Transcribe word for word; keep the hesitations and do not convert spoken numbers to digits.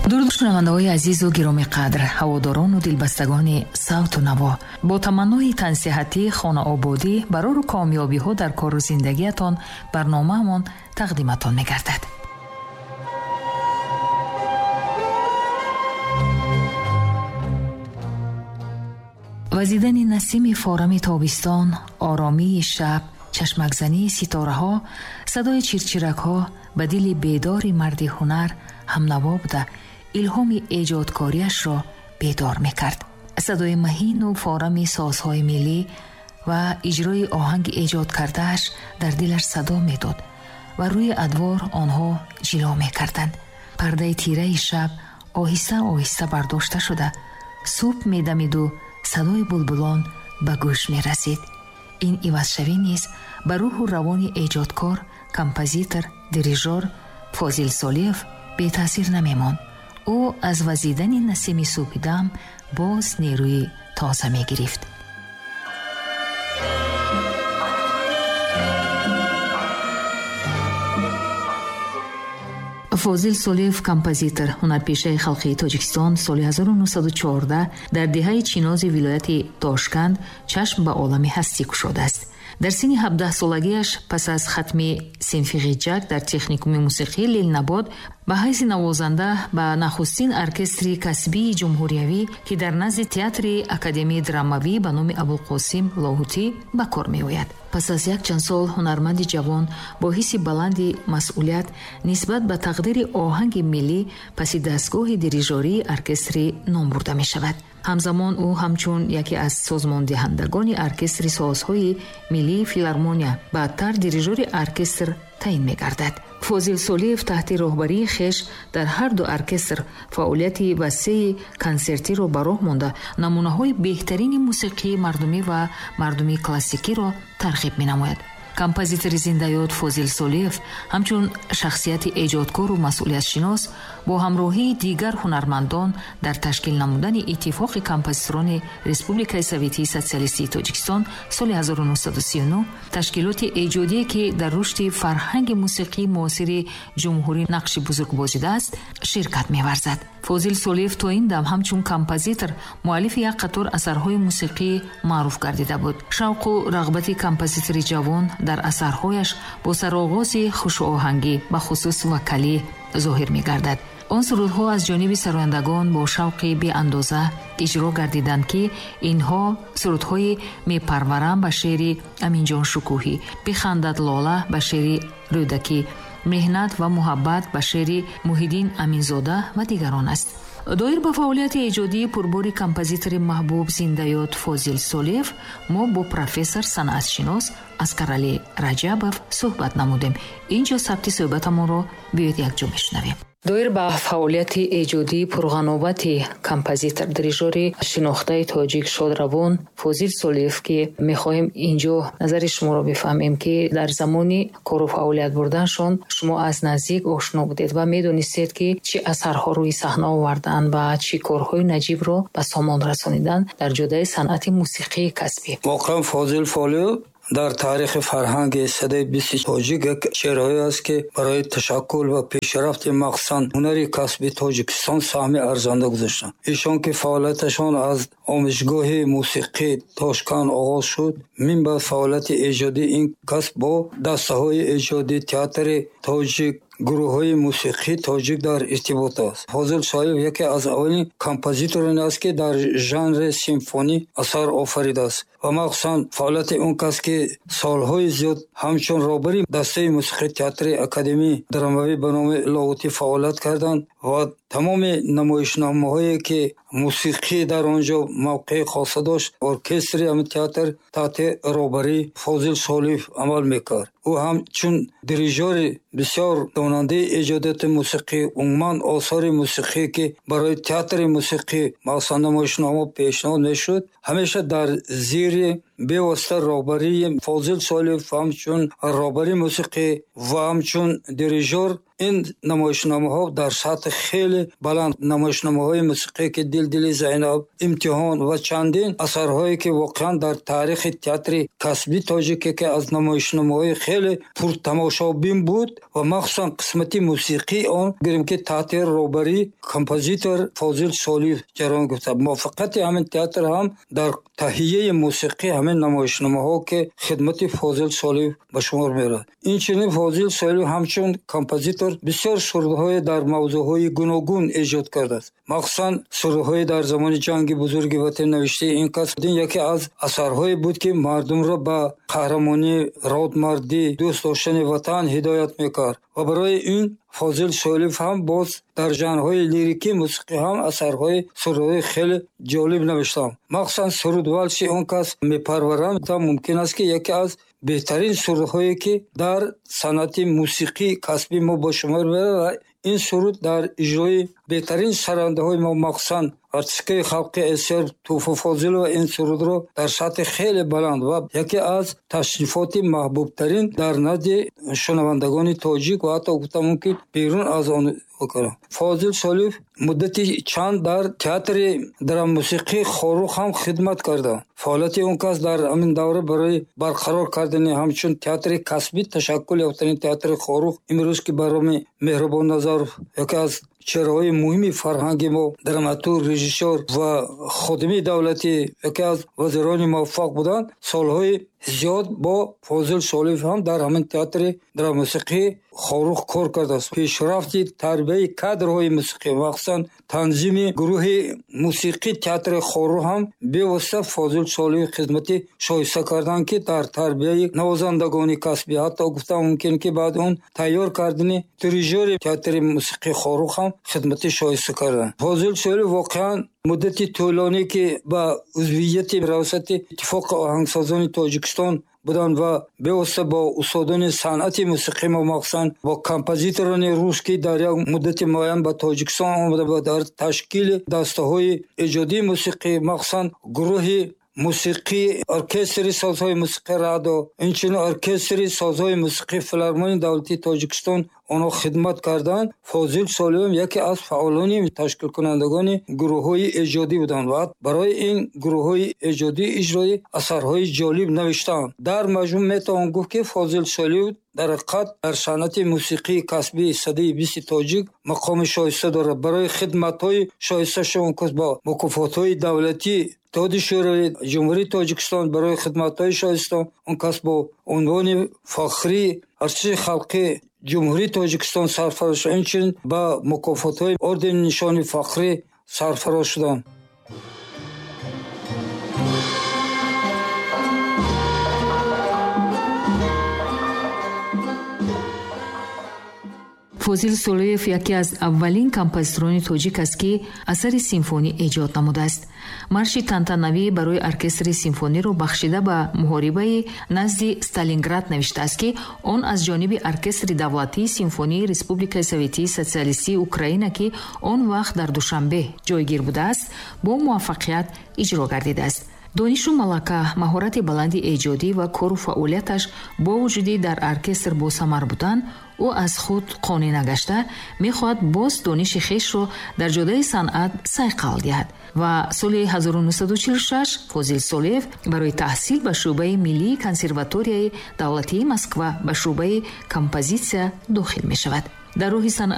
Дуруд шунавандаҳои азизу гиромиқадр, ҳаводорону дилбастагони савту наво. Бо таманнои тансиҳатӣ, хонаободӣ, барору комёбиҳо дар кору зиндагиятон барномаамон тақдиматон мегардад. Вазидани насими форами тобистон, оромии шаб, чашмакзании ситораҳо, садои чирчиракҳо ба дили бедори марди ҳунар ҳамнаво буда, илҳоми эҷодкориашро бедор мекард. Садои маҳину форами созҳои миллӣ ва иҷрои оҳанги эҷод кардааш дар дилаш садо медод ва рӯи адвор онҳо ҷило мекарданд. Пардаи тираи шаб оҳиста оҳиста бардошта шуда, субҳ медамиду садои булбулон ба гӯш мерасид. Ин ивазшавӣ низ ба рӯҳу равони эҷодкор, композитор, дирижор Фозил Солиев бетаъсир намемонд. Ӯ аз вазидани насими субҳидам боз нерӯи тоза мегирифт. Фозил Солиев, композитор, ҳунарпешаи халқии Тоҷикистон, соли ҳазору нӯҳсаду чордаҳ дар деҳаи Чинози вилояти Тошканд чашм ба олами ҳастӣ кушодааст. Дар синни ҳабдаҳсолагиаш пас аз хатми синфи ғиҷак дар техникуми мусиқии Ленинобод ба ҳайси навозанда ба нахустин оркестри касбии ҷумҳуриявӣ, ки дар назди театри академияи драмавӣ ба номи Абулқосим Лоҳутӣ ба кор меояд. Пас аз якчанд сол ҳунарманди ҷавон бо ҳисси баланди масъулият нисбат ба тақдири оҳанги миллӣ паси дастгоҳи дирижории оркестри ном бурда мешавад. Ҳамзамон ӯ ҳамчун яке аз созмондиҳандагони оркестри созҳои миллии филармония, баъдтар дирижори оркестр таъин мегардад. Фозил Солиев таҳти роҳбарии хеш дар ҳар ду оркестр фаъолияти васеи консертиро ба роҳ монда, намунаҳои беҳтарини мусиқии мардумӣ ва мардумии классикиро тарғиб менамояд. Композитори зиндаёд Фозил Солиев ҳамчун шахсияти эҷодкору масъулиятшинос бо ҳамроҳии дигар ҳунармандон дар ташкил намудани Иттифоқи композиторони Республикаи Советии Социалистии Тоҷикистон соли ҳазору нӯҳсаду сию нӯҳ, ташкилоти эҷодие, ки дар рушди фарҳанги мусиқии муосири ҷумҳурӣ нақши бузург бозидааст, ширкат меварзад. Фозил Солиев то ин дам ҳамчун композитор муаллифи як қатор асарҳои мусиқии маъруф гардида буд. Шавқу рағбати композитори ҷавон дар асарҳояш бо сароғози хушоҳангӣ, бахусус вокалӣ зоҳир мегардад. Он сурудҳо аз ҷониби сарояндагон бо шавқи беандоза иҷро гардиданд, ки инҳо сурудҳои «Мепарварам» ба шеъри Аминҷон Шукӯҳӣ, «Бихандад лола» ба шеъри Рӯдакӣ, «Меҳнат ва муҳаббат» ба шеъри Муҳиддин Аминзода ва дигарон аст. Доир ба фаъолияти эҷодии пурбори композитори маҳбуб зиндаёд Фозил Солиев мо бо профессор санъатшинос Аскаралӣ Раҷабов суҳбат намудем. Инҷо сабти суҳбатамонро биёед якҷо мешунавем. Доир ба фаъолияти эҷодии пурғановати композитор, дирижори шинохтаи тоҷик шодравон Фозил Солиев, ки мехоҳем инҷо назари шуморо бифаҳмем, ки дар замони кору фаъолият бурданшон шумо аз наздик ошно будед ва медонистед, ки чӣ асарҳо рӯи саҳна оварданд ва чӣ корҳои наҷибро ба сомон расониданд дар ҷодаи санъати мусиқии касбӣ. Воқеан Фозил Солиев дар таърихи фарҳанги садаи бисти тоҷик як чеҳраҳое аст, ки барои ташаккул ва пешрафти махсусан ҳунари касби Тоҷикистон саҳми арзанда гузоштанд. Эшон ки фаъолияташон аз омӯзгоҳи мусиқии Тошканд оғоз шуд, минбаъд фаъолияти эҷодии ин кас бо дастаҳои эҷодии театри тоҷик, гурӯҳҳои мусиқии тоҷик дар иртибот аст. Фозил Солиев яке аз аввалин композитороне аст, ки дар жанри симфонӣ асар офаридааст ва махсусан фаъолияти он кас, ки солҳои зиёд ҳамчун роҳбари дастаи мусиқии театри академияи драмавӣ ба номи Лоҳутӣ фаъолият карданд ва тамоми намоишномаҳое, ки мусиқӣ дар он ҷо мавқеи хоса дошт, оркестри ҳамин театр таҳти роҳбарии Фозил Солиев амал мекард. Ӯ ҳамчун дирижори бисёр донандаи эҷодиёти мусиқӣ, умуман осори мусиқӣ, ки барои театри мусиқӣ махсусан намоишнома пешниҳод мешуд, ҳамеша дар зери бевосита роҳбарии Фозил Солиев ҳамчун роҳбари мусиқӣ ва ҳамчун дирижор Ин намоишномаҳо дар сатҳи хеле баланд, намоишномаҳои мусиқие ки Дил дили Зайнаб, Имтиҳон ва чандин асарҳое ки воқеан дар таърихи театри касбии тоҷик яке аз намоишномаҳои хеле пуртамошобин буд ва махсусан қисмати мусиқии он гирем ки таҳти роҳбарии композитор Фозил Солиев ҷараён гирифта. Муваффақияти ҳамин театр ҳам дар таҳияи мусиқии ҳамин намоишномаҳо ки хидмати Фозил Солиев ба шумор меравад. Инчунин Фозил Солиев ҳамчун композитор бисёр сурудҳое дар мавзӯъҳои гуногун эҷод кардааст. Махсусан сурудҳои дар замони ҷанги бузурги ватан навиштаи ин кас яке аз асарҳое буд ки мардумро ба қаҳрамонӣ, родмардӣ, дӯст доштани ватан ҳидоят мекард. Ва барои ин Фозил Солиев ҳам боз дар жанрҳои лирикӣ мусиқӣ ҳам асарҳои сурудҳои хеле ҷолиб навиштам. Махсусан суруд валси он кас мепарварам, та мумкин аст ки яке аз беҳтарин сурудҳое ки дар санъати мусиқии касбии мо ба шумор меравад ва ин суруд дар иҷрои беҳтарин сарандаҳои мо, махсусан артисткаи халқи СССР Туфа Фозилова ин сурудро дар сатҳи хеле баланд ва яке аз ташрифоти маҳбубтарин дар назди шунавандагони тоҷик ва ҳатто гуфта мумкин берун аз он бикунам. Фозил Солиев муддати чанд дар театри драмусиқии Хоруғ ҳам хидмат карда. Фаъолияти он кас дар ҳамин давра барои барқарор кардани ҳамчун театри касбӣ ташаккул ёфтани театри Хоруғ имрӯз ки ба номи Меҳрубон Назаров яке аз чеҳраҳои муҳими фарҳанги мо, драматург, режиссёр ва ходими давлатӣ, яке аз вазирони муваффақ буданд, солҳои зиёд бо Фозил Солиев ҳам дар ҳамин театри драмусиқии Хоруғ кор кардааст. Пешрафти тарбияи кадрҳои мусиқӣ, махсусан танзими гурӯҳи мусиқии театри Хоруғ ҳам бевосита Фозил Солиев хизмати шоиста карданд ки дар тарбияи навозандагони касбӣ, ҳатто гуфта мумкин ки баъд он тайёр кардани дирижёри театри мусиқии Хоруғ ҳам хизмати шоиста карданд. Фозил Солиев воқеан муддати тӯлонӣ ки ба узвияти раёсати Иттифоқи оҳангсозони Тоҷикистон буданд ва бевосита бо устодони санъати мусиқӣ мо, махсусан бо композиторони рус ки дар як муддати муайян ба Тоҷикистон омада ва дар ташкили дастаҳои эҷодии мусиқӣ, махсусан гурӯҳи мусиқӣ, оркестри созҳои мусиқии Радо, инчунин оркестри созҳои мусиқии Филармонияи давлатии Тоҷикистон онҳо хидмат карданд. Фозил Солиев яке аз фаъолони ташкилкунандагони гурӯҳҳои эҷодӣ буданд ва барои ин гурӯҳҳои эҷодӣ иҷрои асарҳои ҷолиб навиштанд. Дар маҷмӯъ метавон гуфт ки Фозил Солиев дар ҳақиқат дар санъати мусиқии касбии садаи бисти тоҷик мақоми шоиста дорад. Барои хидматҳои шоистаашон бо мукофотҳои давлатӣ Иттиҳоди Шӯравӣ, Ҷумҳурии Тоҷикистон барои хидматҳои шоиста он кас бо унвони фахрии артисти халқи Ҷумҳурии Тоҷикистон сарфароз шуд. Инчунин ба мукофотҳои ордени нишони фахрӣ сарфароз шуданд. Фозил Солиев яке аз аввалин композиторони тоҷик аст ки асари симфонӣ эҷод намудааст. Марши тантанавӣ барои оркестри симфониро бахшида ба муҳорибаи назди Сталинград навиштааст ки он аз ҷониби оркестри давлатии симфонии Республикаи Советии Социалистии Украина ки он вақт дар Душанбе ҷойгир будааст, бо муваффақият иҷро гардидааст. Донишу малака, маҳорати баланди эҷодӣ ва кору фаъолияташ бо вуҷуди дар оркестр босамар будан, ӯ аз худ қонеъ нагашта мехоҳад боз дониши хешро дар ҷодаи санъат сайқал диҳад ва соли ҳазору нӯҳсаду чилу шаш Фозил Солиев барои таҳсил ба шӯъбаи миллии консерваторияи давлатии Москва ба шӯъбаи композитсия дохил мешавад. Дар роҳи санъат